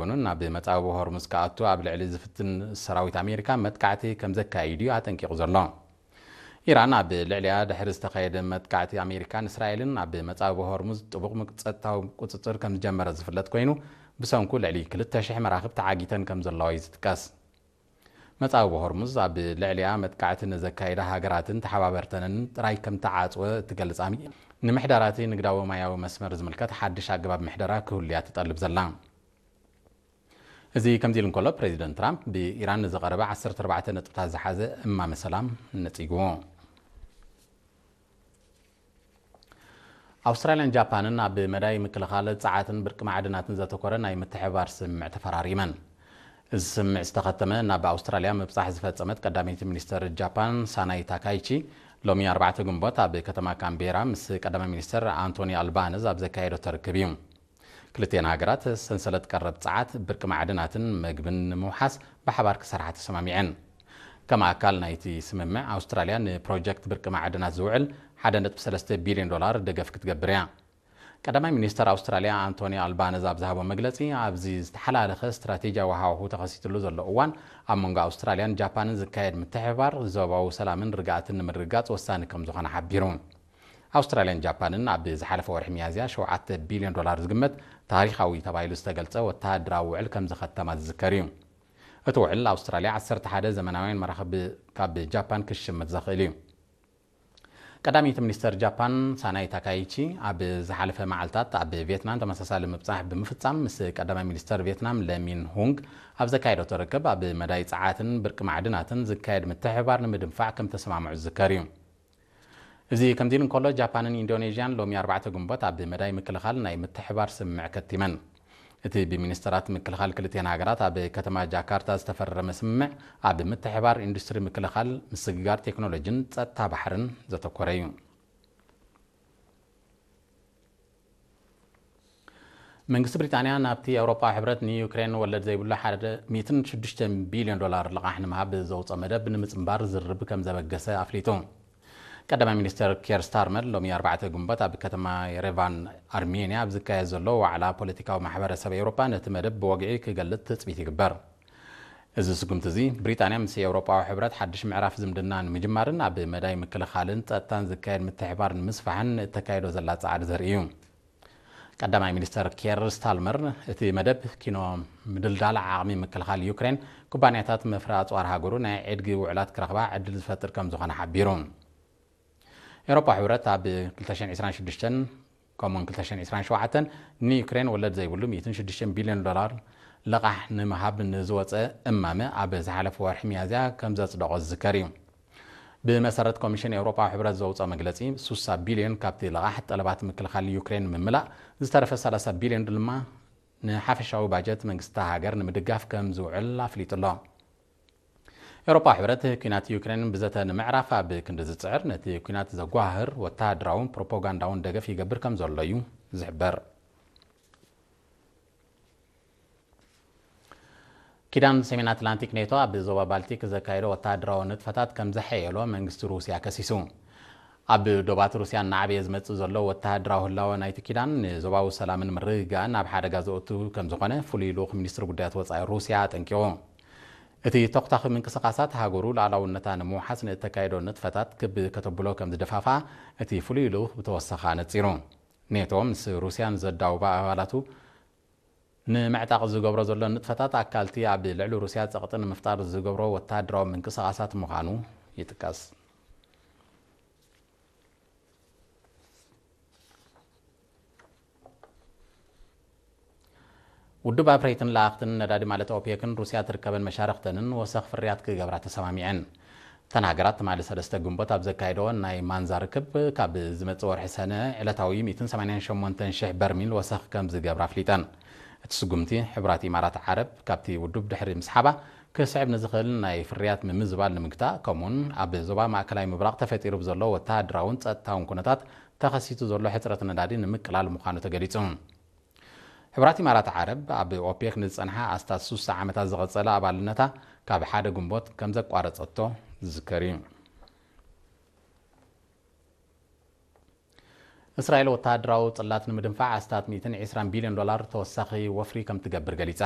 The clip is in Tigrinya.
ኮይኑ ናብ መጻብቦ ሆርሙዝ ክኣቱ ኣብ ልዕሊ ዝፍትን ሰራዊት ኣሜሪካ መጥቃዕቲ ከም ዘካይድ እዩ ኣጠንቂቑ ዘሎ። ኢራን ኣብ ልዕሊኣ ድሕሪ ዝተኻየደ መጥቃዕቲ ኣሜሪካን እስራኤልን ኣብ መጻብቦ ሆርሙዝ ጥቡቕ ጸጥታዊ ቁጽጽር ከም ዝጀመረ ዝፍለጥ ኮይኑ፣ ብሰንኩ ልዕሊ ክልተ ሽሕ መራኽብ ተዓጊተን ከም ዘለዋ እዩ ዝጥቀስ። መጻብቦ ሆርሙዝ ኣብ ልዕሊኣ መጥቃዕቲ ንዘካየዳ ሃገራትን ተሓባበርተንን ጥራይ ከም ተዓጽወ እትገልጽ ኣሚ-፣ ንምሕዳራቲ ንግዳዊ ማያዊ መስመር ዝምልከት ሓድሽ ኣገባብ ምሕደራ ክህሉያ ትጠልብ ዘላ። እዚ ከምዚ ኢሉ እንከሎ፣ ፕሬዚደንት ትራምፕ ብኢራን ንዝቐረበ ዓሰርተ ኣርባዕተ ነጥብታት ዝሓዘ እማመ ሰላም ነጺግዎ። ኣውስትራልያን ጃፓንን ኣብ መዳይ ምክልኻል ጸዓትን ብርቂ ማዕድናትን ዘተኮረ ናይ ምትሕብባር ስምምዕ ተፈራሪመን። እዚ ስምምዕ ዝተኸተመ ናብ ኣውስትራልያ ምብጻሕ ዝፈጸመት ቀዳመይቲ ሚኒስተር ጃፓን ሳናይ ታካይቺ ሎሚ ኣርባዕተ ግንቦት ኣብ ከተማ ካምቤራ ምስ ቀዳማይ ሚኒስተር ኣንቶኒ ኣልባነዝ ኣብ ዘካየደቶ ርክብ እዩ። ክልቲኤን ሃገራት ሰንሰለት ቀረብ ጸዓት፣ ብርቂ ማዕድናትን መግብን ንምውሓስ ብሓባር ክሰርሓ ተሰማሚዐን። ከም ኣካል ናይቲ ስምምዕ፣ ኣውስትራልያ ንፕሮጀክት ብርቂ ማዕድናት ዝውዕል ሓደ ነጥቢ ሰለስተ ቢልዮን ዶላር ደገፍ ክትገብር እያ። ቀዳማይ ሚኒስተር ኣውስትራልያ ኣንቶኒ ኣልባነዝ ኣብ ዝሃቦ መግለጺ፣ ኣብዚ ዝተሓላለኸ ስትራቴጂያዊ ሃዋሁ ተኸሲትሉ ዘሎ እዋን፣ ኣብ መንጎ ኣውስትራልያን ጃፓንን ዝካየድ ምትሕብባር ዞባዊ ሰላምን ርግኣትን ንምርግጋጽ ወሳኒ ከም ዝኾነ ሓቢሩ። ኣውስትራልያን ጃፓንን ኣብ ዝሓለፈ ወርሒ ሚያዝያ ሸውዓተ ቢልዮን ዶላር ዝግመት ታሪኻዊ ተባሂሉ ዝተገልጸ ወተሃደራዊ ውዕል ከም ዝኸተማ ዝዝከር እዩ። እቲ ውዕል ኣውስትራልያ ዓሰርተ ሓደ ዘመናውያን መራኽብ ካብ ጃፓን ክሽምት ዘኽእል እዩ። ቀዳመይቲ ሚኒስተር ጃፓን ሳናይ ታካይቺ ኣብ ዝሓለፈ መዓልታት ኣብ ቪየትናም ተመሳሳሊ ምብጻሕ ብምፍጻም ምስ ቀዳማይ ሚኒስተር ቪየትናም ለሚን ሁንግ ኣብ ዘካየደቶ ርክብ ኣብ መዳይ ጸዓትን ብርቂ ማዕድናትን ዝካየድ ምትሕብባር ንምድንፋዕ ከም ተሰማምዑ ዝዝከር እዩ። እዚ ከምዚ ኢሉ እንከሎ፣ ጃፓንን ኢንዶኔዥያን ሎሚ ኣርባዕተ ግንቦት ኣብ መዳይ ምክልኻል ናይ ምትሕባር ስምምዕ ከቲመን። እቲ ብሚኒስተራት ምክልኻል ክልቲኤን ሃገራት ኣብ ከተማ ጃካርታ ዝተፈረመ ስምምዕ ኣብ ምትሕባር ኢንዱስትሪ ምክልኻል፣ ምስግጋር ቴክኖሎጂን ጸጥታ ባሕርን ዘተኮረ እዩ። መንግስቲ ብሪጣንያ ናብቲ ኣውሮፓዊ ሕብረት ንዩክሬን ወለድ ዘይብሉ ሓደ ሚእትን ሽዱሽተ ቢልዮን ዶላር ልቓሕ ንምሃብ ዘውፅኦ መደብ ንምፅንባር ዝርርብ ከም ዘበገሰ ኣፍሊጡ። ቀዳማይ ሚኒስተር ኬር ስታርመር ሎሚ ኣርባዕተ ግንቦት ኣብ ከተማ የሬቫን ኣርሜንያ ኣብ ዝካየድ ዘሎ ዋዕላ ፖለቲካዊ ማሕበረሰብ ኤውሮፓ ነቲ መደብ ብወግዒ ክገልጽ ትጽቢት ይግበር። እዚ ስጉምቲ እዚ ብሪጣንያ ምስ ኤውሮጳዊ ሕብረት ሓድሽ ምዕራፍ ዝምድና ንምጅማርን ኣብ መዳይ ምክልኻልን ጸጥታን ዝካየድ ምትሕባር ንምስፋሕን እተካየዶ ዘላ ጻዕሪ ዘርኢ እዩ። ቀዳማይ ሚኒስተር ኬር ስታርመር እቲ መደብ ኪኖ ምድልዳል ዓቕሚ ምክልኻል ዩክሬን ኩባንያታት መፍረ ኣጽዋር ሃገሩ ናይ ዕድጊ ውዕላት ክረኽባ ዕድል ዝፈጥር ከም ዝኾነ ሓቢሩ። ኤውሮፓ ሕብረት ኣብ ክልተ ሽሕን ዕስራን ሽዱሽተን ከምኡውን ክልተ ሽሕን ዕስራን ሸውዓተን ንዩክሬን ወለድ ዘይብሉ ሚእትን ሽዱሽተን ቢልዮን ዶላር ልቓሕ ንምሃብ ንዝወፀ እማመ ኣብ ዝሓለፈ ወርሒ ሚያዝያ ከም ዘጽደቖ ዝዝከር እዩ። ብመሰረት ኮሚሽን ኤውሮፓ ሕብረት ዘውፅኦ መግለፂ፣ ሱሳ ቢልዮን ካብቲ ልቓሕ ጠለባት ምክልኻል ዩክሬን ምምላእ፣ ዝተረፈ ሰላሳ ቢልዮን ድማ ንሓፈሻዊ ባጀት መንግስቲ ሃገር ንምድጋፍ ከም ዝውዕል ኣፍሊጡ ኣሎ። ኤውሮፓ ሕብረት ኲናት ዩክሬን ብዘተ ንምዕራፍ ኣብ ክንዲ ዝጽዕር፣ ነቲ ኲናት ዘጓህር ወተሃደራውን ፕሮፓጋንዳውን ደገፍ ይገብር ከም ዘሎ እዩ ዝሕበር። ኪዳን ሰሜን ኣትላንቲክ ኔቶ ኣብ ዞባ ባልቲክ ዘካየዶ ወተሃደራዊ ንጥፈታት ከም ዘሐየሎ መንግስቲ ሩስያ ከሲሱ። ኣብ ዶባት ሩስያ እናዓበየ ዝመጽእ ዘሎ ወተሃደራዊ ህላወ ናይቲ ኪዳን ንዞባዊ ሰላምን ምርግጋእን ኣብ ሓደጋ ዘእቱ ከም ዝኾነ ፍሉይ ልኡኽ ሚኒስትሪ ጉዳያት ወጻኢ ሩስያ ኣጠንቂቑ። እቲ ተኹታኺ ምንቅስቓሳት ሃገሩ ሉዓላውነታ ንምውሓስ ንእተካየዶ ንጥፈታት ክብ ከተብሎ ከም ዝደፋፍኣ እቲ ፍሉይ ልኡኽ ብተወሳኺ ኣነጺሩ። ኔቶ ምስ ሩስያ ንዘዳውባ ኣባላቱ ንምዕጣቕ ዝገብሮ ዘሎ ንጥፈታት ኣካልቲ ኣብ ልዕሊ ሩስያ ጸቕጢ ንምፍጣር ዝገብሮ ወተሃደራዊ ምንቅስቓሳት ምዃኑ ይጥቀስ። ውድብ ኣፍረይትን ለኣኽትን ነዳዲ ማለት ኦፔክን ሩስያ ትርከበን መሻርኽተንን ወሰኽ ፍርያት ክገብራ ተሰማሚዐን። እተን ሃገራት ትማሊ ሰለስተ ግንቦት ኣብ ዘካየደኦ ናይ ማንዛ ርክብ፣ ካብ ዝመጽእ ወርሒ ሰነ ዕለታዊ ሚእትን ሰማንያን ሸሞንተን ሽሕ በርሚል ወሰኽ ከም ዝገብራ ኣፍሊጠን። እቲ ስጉምቲ፣ ሕቡራት ኢማራት ዓረብ ካብቲ ውድብ ድሕሪ ምስሓባ፣ ክስዕብ ንዝኽእል ናይ ፍርያት ምምዝባል ንምግታእ፣ ከምኡውን ኣብ ዞባ ማእከላይ ምብራቕ ተፈጢሩ ብዘሎ ወተሃደራውን ጸጥታውን ኩነታት ተኸሲቱ ዘሎ ሕጽረት ነዳዲ ንምቅላል ምዃኑ ተገሊጹ። ሕቡራት ኢማራት ዓረብ ኣብ ኦፔክ ንዝጸንሓ ኣስታት ሱሳ ዓመታት ዝቐጸለ ኣባልነታ ካብ ሓደ ግንቦት ከም ዘቋረጸቶ ዝዝከር እዩ። እስራኤል ወተሃደራዊ ጽላት ንምድንፋዕ ኣስታት ሚእትን ዕስራን ቢልዮን ዶላር ተወሳኺ ወፍሪ ከም ትገብር ገሊጻ።